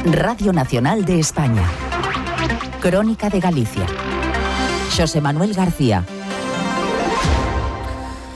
Radio Nacional de España. Crónica de Galicia. Xosé Manuel García.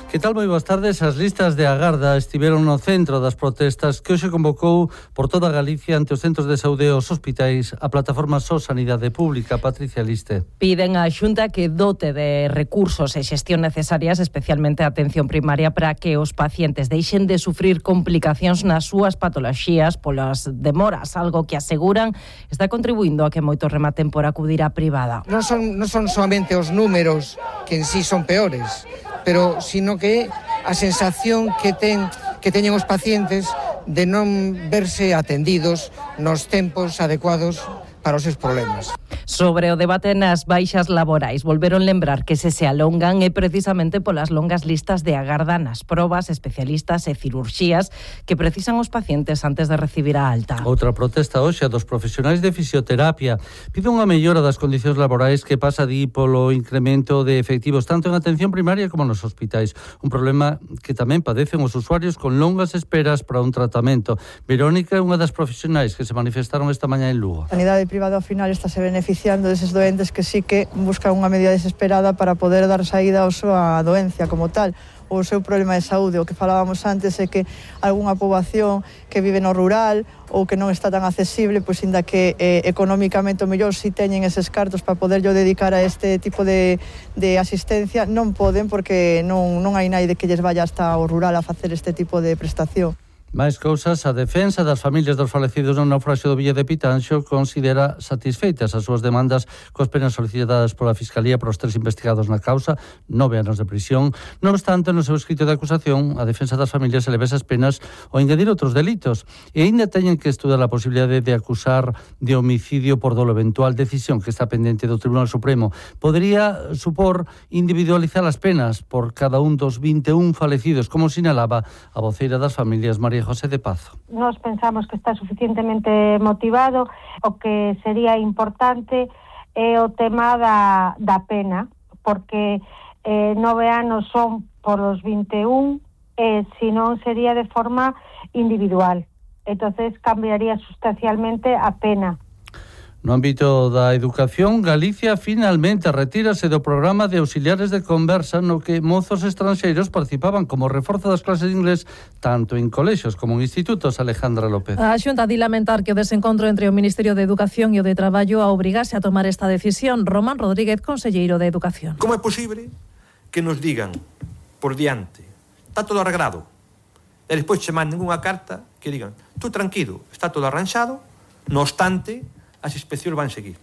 Que tal? Moi boas tardes. As listas de agarda estiveron no centro das protestas que hoxe convocou por toda Galicia ante os centros de saúde e os hospitais a plataforma SO Sanidade Pública. Patricia Liste. Piden á Xunta que dote de recursos e xestión necesarias, especialmente a atención primaria, para que os pacientes deixen de sufrir complicacións nas súas patoloxías polas demoras, algo que aseguran está contribuindo a que moitos rematen por acudir á privada. Non son solamente os números que en sí son peores, pero sino que a sensación que teñen os pacientes de non verse atendidos nos tempos adecuados para os seus problemas. Sobre o debate nas baixas laborais, volveron lembrar que se alongan é precisamente polas longas listas de agarda nas probas, especialistas e cirurxías que precisan os pacientes antes de recibir a alta. Outra protesta hoxe a dos profesionais de fisioterapia. Pide unha mellora das condicións laborais que pasa di polo incremento de efectivos tanto en atención primaria como nos hospitais. Un problema que tamén padecen os usuarios con longas esperas para un tratamento. Verónica é unha das profesionais que se manifestaron esta mañá en Lugo. A sanidade privada ao final está se beneficiando deses doentes que sí que buscan unha medida desesperada para poder dar saída ao súa doencia como tal, o seu problema de saúde. O que falábamos antes é que algunha poboación que vive no rural ou que non está tan accesible, pois inda que económicamente o mellor si teñen eses cartos para poderlo dedicar a este tipo de asistencia, non poden porque non hai naide que lles vaya hasta o rural a facer este tipo de prestación. Mais cousas, a defensa das familias dos falecidos no naufraxio do Villa de Pitanxo considera satisfeitas as súas demandas coas penas solicitadas pola Fiscalía para os 3 investigados na causa, 9 anos de prisión. Non obstante, no seu escrito de acusación, a defensa das familias eleva esas penas ou engadir outros delitos e aínda teñen que estudar a posibilidade de acusar de homicidio por dolo eventual, decisión que está pendente do Tribunal Supremo. Podería supor individualizar as penas por cada un dos 21 falecidos, como sinalaba a voceira das familias, María José de Pazo. Nos pensamos que está suficientemente motivado. O que sería importante é o tema da pena, porque 9 anos son por os 21 e senón sería de forma individual. Entonces cambiaría sustancialmente a pena. No ámbito da educación, Galicia finalmente retírase do programa de auxiliares de conversa no que mozos estranxeiros participaban como reforzo das clases de inglés tanto en colexios como en institutos. Alejandra López. A Xunta di lamentar que o desencontro entre o Ministerio de Educación e o de Traballo a obrigase a tomar esta decisión. Román Rodríguez, conselleiro de Educación. Como é posible que nos digan por diante está todo arreglado e despois che manden unha carta que digan tú tranquilo, está todo arranxado, no obstante as inspeccións van seguir.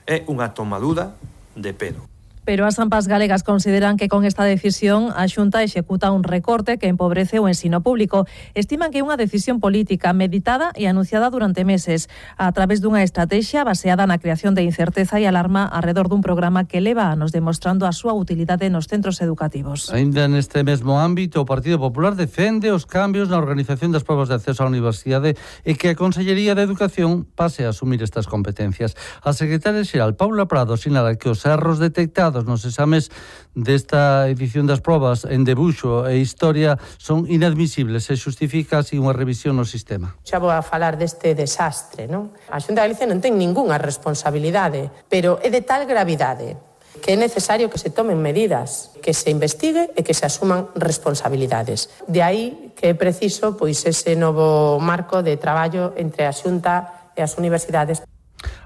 É unha tomadura de pelo. Pero as AMPAs galegas consideran que con esta decisión a Xunta executa un recorte que empobrece o ensino público. Estiman que é unha decisión política meditada e anunciada durante meses a través dunha estrategia baseada na creación de incerteza e alarma arredor dun programa que leva anos demostrando a súa utilidade nos centros educativos. Ainda neste mesmo ámbito, o Partido Popular defende os cambios na organización das probas de acceso á universidade e que a Consellería de Educación pase a asumir estas competencias. A secretaria xeral Paula Prado sinala que os erros detectados nos exames desta edición das probas en debuxo e historia son inadmisibles e justifica así unha revisión no sistema. Xa vou a falar deste desastre, non? A Xunta de Galicia non ten ningunha responsabilidade, pero é de tal gravidade que é necesario que se tomen medidas, que se investigue e que se asuman responsabilidades. De aí que é preciso pois ese novo marco de traballo entre a Xunta e as universidades.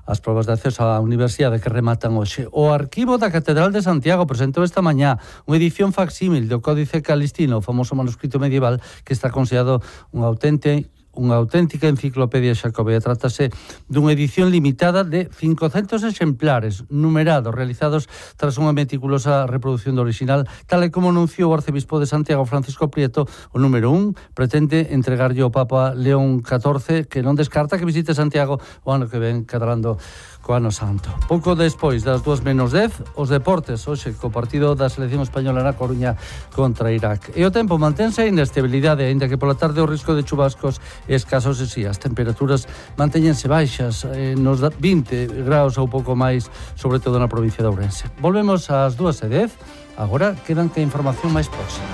As probas de acceso á universidade que rematan hoxe. O Arquivo da Catedral de Santiago presentou esta mañá unha edición facsímil do Códice Calistino, o famoso manuscrito medieval que está considerado unha auténtica enciclopedia xacobea. Trátase dunha edición limitada de 500 exemplares numerados, realizados tras unha meticulosa reproducción do original, tal e como anunciou o arcebispo de Santiago, Francisco Prieto. O número 1 pretende entregarlle ao Papa León XIV, que non descarta que visite Santiago o ano que ven, cadrando co ano santo. Pouco despois das 2:10, os deportes, hoxe co partido da selección española na Coruña contra Irak. E o tempo mantense a inestabilidade, aínda que pola tarde o risco de chubascos é escasos e si, as temperaturas mantéñense baixas, nos 20 graus ou pouco máis, sobre todo na provincia de Ourense. Volvemos ás 2:10, agora quedan que a información máis próxima.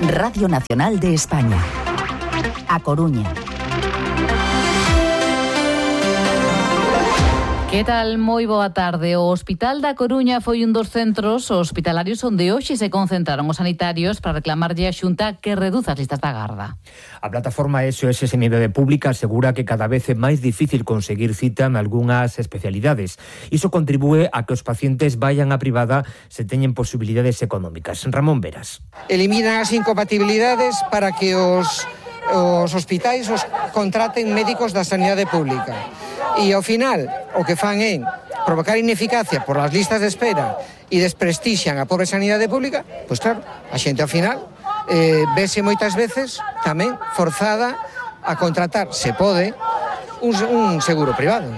Radio Nacional de España. A Coruña. Que tal? Moi boa tarde. O Hospital da Coruña foi un dos centros hospitalarios onde hoxe se concentraron os sanitarios para reclamarlle a Xunta que reduza as listas da garda. A plataforma SOS Sanidade Pública asegura que cada vez é máis difícil conseguir cita en algunhas especialidades. Iso contribúe a que os pacientes vayan á privada se teñen posibilidades económicas. Ramón Veras. Eliminan as incompatibilidades para que os hospitais os contraten médicos da sanidade pública. E ao final o que fan é provocar ineficacia por as listas de espera e desprestixian a pobre sanidade pública, pois claro, a xente ao final vese moitas veces tamén forzada a contratar, se pode, un seguro privado.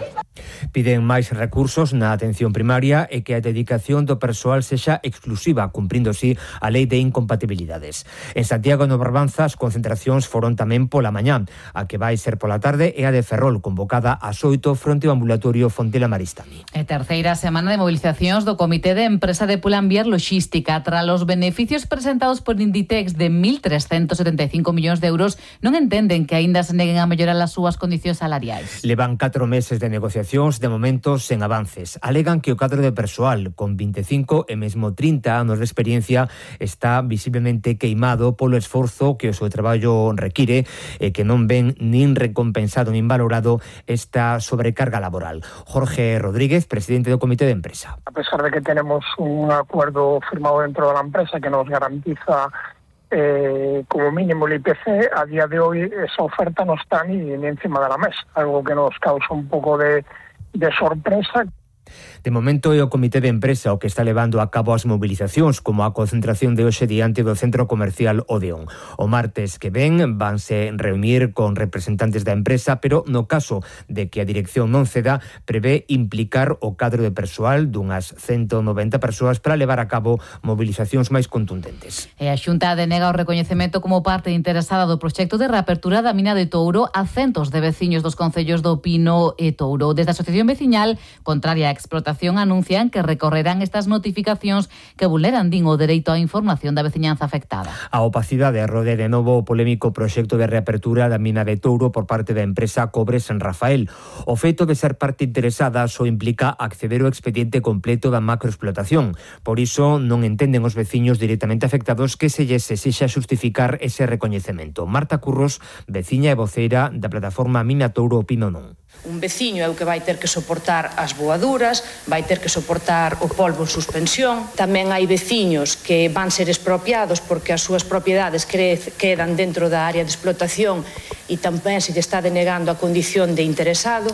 Piden máis recursos na atención primaria e que a dedicación do persoal sexa exclusiva, cumprindo así a lei de incompatibilidades. En Santiago no Barbanza as concentracións foron tamén pola mañá. A que vai ser pola tarde é a de Ferrol, convocada ás 8 fronte ao ambulatorio Fontela Maristani. E terceira semana de movilizacións do Comité de Empresa de Pull&Bear Logística. Tras os beneficios presentados por Inditex de 1.375 millóns de euros, non entenden que aínda se neguen a mellorar as súas condicións salariais. Levan 4 meses de negociacións, de momento sen avances. Alegan que o cadro de persoal con 25 e mesmo 30 anos de experiencia está visiblemente queimado polo esforzo que o seu traballo require e que non ven nin recompensado nin valorado esta sobrecarga laboral. Jorge Rodríguez, presidente do Comité de Empresa. A pesar de que tenemos un acuerdo firmado dentro de la empresa que nos garantiza como mínimo el IPC, a día de hoy esa oferta no está ni encima de la mesa, algo que nos causa un poco de sorpresa. De momento é o Comité de Empresa o que está levando a cabo as movilizacións, como a concentración de hoxe diante do centro comercial Odeón. O martes que ven vanse reunir con representantes da empresa, pero no caso de que a dirección non ceda, prevé implicar o cadro de persoal dunhas 190 persoas para levar a cabo movilizacións máis contundentes. E a Xunta denega o recoñecemento como parte interesada do proxecto de reapertura da mina de Touro a centos de veciños dos concellos do Pino e Touro. Desde a Asociación Veciñal, contraria á explotación, anuncian que recorrerán estas notificacións que vulneran, din, o dereito á información da veciñanza afectada. A opacidade rode de novo o polémico proxecto de reapertura da mina de Touro por parte da empresa Cobre San Rafael. O feito de ser parte interesada só implica acceder ao expediente completo da macroexplotación. Por iso non entenden os veciños directamente afectados que se lles exixa justificar ese recoñecemento. Marta Curros, veciña e voceira da plataforma Mina Touro Opino Non. Un veciño é o que vai ter que soportar as voaduras, vai ter que soportar o polvo en suspensión. Tamén hai veciños que van ser expropiados porque as súas propiedades quedan dentro da área de explotación e tamén se lle está denegando a condición de interesado.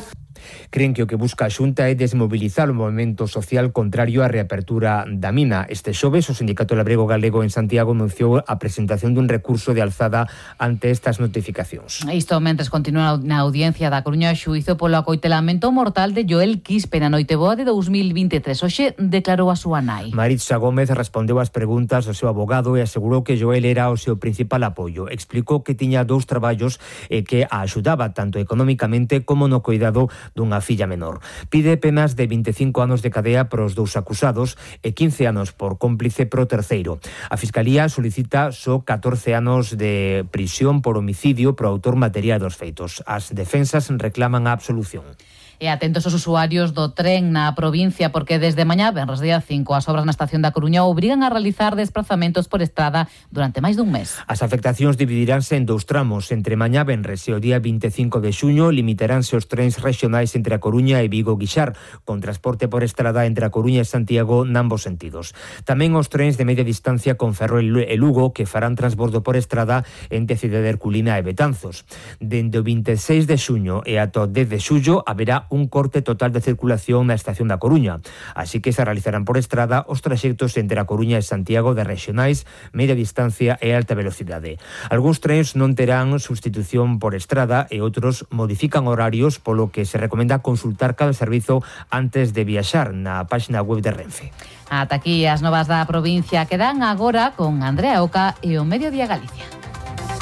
Creen que o que busca a Xunta é desmobilizar o movemento social contrario á reapertura da mina. Este xoves, o Sindicato Labrego Galego en Santiago anunciou a presentación dun recurso de alzada ante estas notificacións. Isto mentres continúa na audiencia da Coruña o xuízo polo acoitelamento mortal de Joel Quispe na noiteboa de 2023. Hoxe declarou a súa nai. Maritza Gómez respondeu ás preguntas do seu abogado e asegurou que Joel era o seu principal apoio. Explicou que tiña 2 traballos e que a axudaba tanto económicamente como no cuidado dunha filla menor. Pide penas de 25 anos de cadea para os 2 acusados e 15 anos por cómplice pro terceiro. A Fiscalía solicita só 14 anos de prisión por homicidio pro autor material dos feitos. As defensas reclaman a absolución. E atentos os usuarios do tren na provincia, porque desde mañá, venres día 5, as obras na estación da Coruña obrigan a realizar desplazamentos por estrada durante máis dun mes. As afectacións dividiránse en 2 tramos. Entre mañá venres e o día 25 de xuño limitaránse os trens regionais entre a Coruña e Vigo-Guixar, con transporte por estrada entre a Coruña e Santiago nambos sentidos. Tamén os trens de media distancia con Ferrol e Lugo, que farán transbordo por estrada entre Cidade Herculina e Betanzos. Dende o 26 de xuño e ata o 10 de xullo haberá un corte total de circulación na estación da Coruña, así que se realizarán por estrada os traxectos entre a Coruña e Santiago de regionais, media distancia e alta velocidade. Algúns trens non terán sustitución por estrada e outros modifican horarios, polo que se recomenda consultar cada servizo antes de viaxar na páxina web de Renfe. Ata aquí as novas da provincia, quedan agora con Andrea Oca e o Mediodía Galicia.